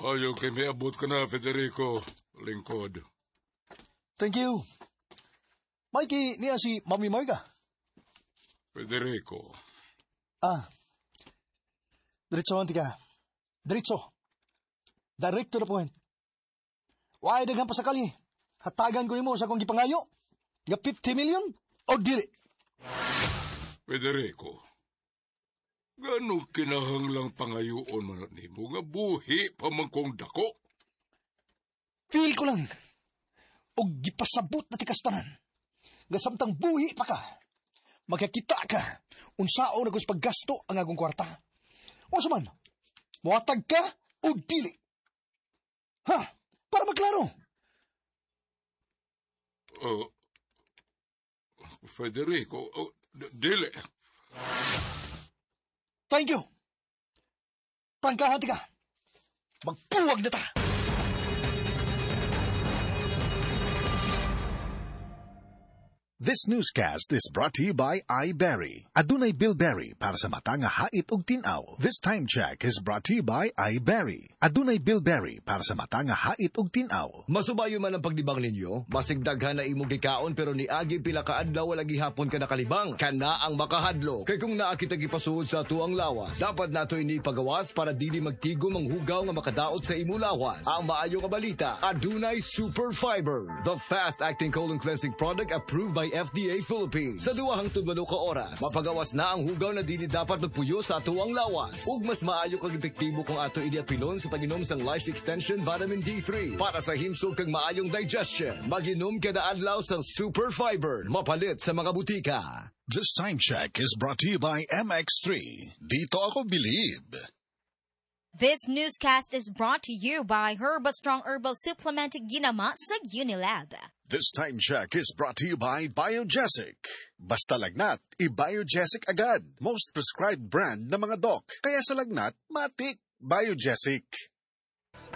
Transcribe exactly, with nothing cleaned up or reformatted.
Maayo kay miabot ka na, Federico. Lingkod. Thank you. Mikey, niya si Mami Marga. Federico, Ah. Diretso ka. Diretso. Direct to the point. Why daghan pa sakali? Hatagan ko nimo sa akong gipangayo. Nga fifty million o dili? Federico. Gano kinahanglang pangayoon man nimo nga buhi pa man kong dako? Feel ko lang. Og gipasabot na tikas tanan. Nga samtang buhi pa ka, makakita ka unsaon na paggasto ang akong kwarta. Unsa man? Muhatag ka o dili? Ha? Para maklaro. Uh, Federico, oh, d- dili. Thank you. Prangkahan ka. Magpuwag na ta. This newscast is brought to you by iBerry. Adunay bilberry para sa mata nga hait og tin-aw. This time check is brought to you by iBerry. Adunay bilberry para sa mata nga hait og tin-aw. Masubayo man ang paglibang ninyo, basig daghan na imong gikaon pero niagi pila ka adlaw wala gihapon ka nakalibang. Kana ang makahadlok. Kay kung naa kita gipasuod sa atuang lawas, dapat nato ini pagawas para dili magtigom ang hugaw nga makadaot sa imong lawas. Ang maayo nga balita, adunay Super Fiber, the fast-acting colon cleansing product approved by F D A Philippines. Sa duha hangtod walo ka oras, mapagawas na ang hugaw na dili dapat magpuyo sa atuang lawas. Ug mas maayo kag epektibo kung ato ini apilon sa pag-inom sang Life Extension Vitamin D three para sa himsog kag maayong digestion. Maginom kada adlaw sang Super Fiber. Mapalit sa mga butika. This time check is brought to you by M X three. Dito ako believe. This newscast is brought to you by Herba Strong Herbal Supplement Ginama sa Unilab. This time check is brought to you by Biogesic. Basta lagnat, i-Biogesic agad. Most prescribed brand ng mga doc. Kaya sa lagnat, matik, Biogesic.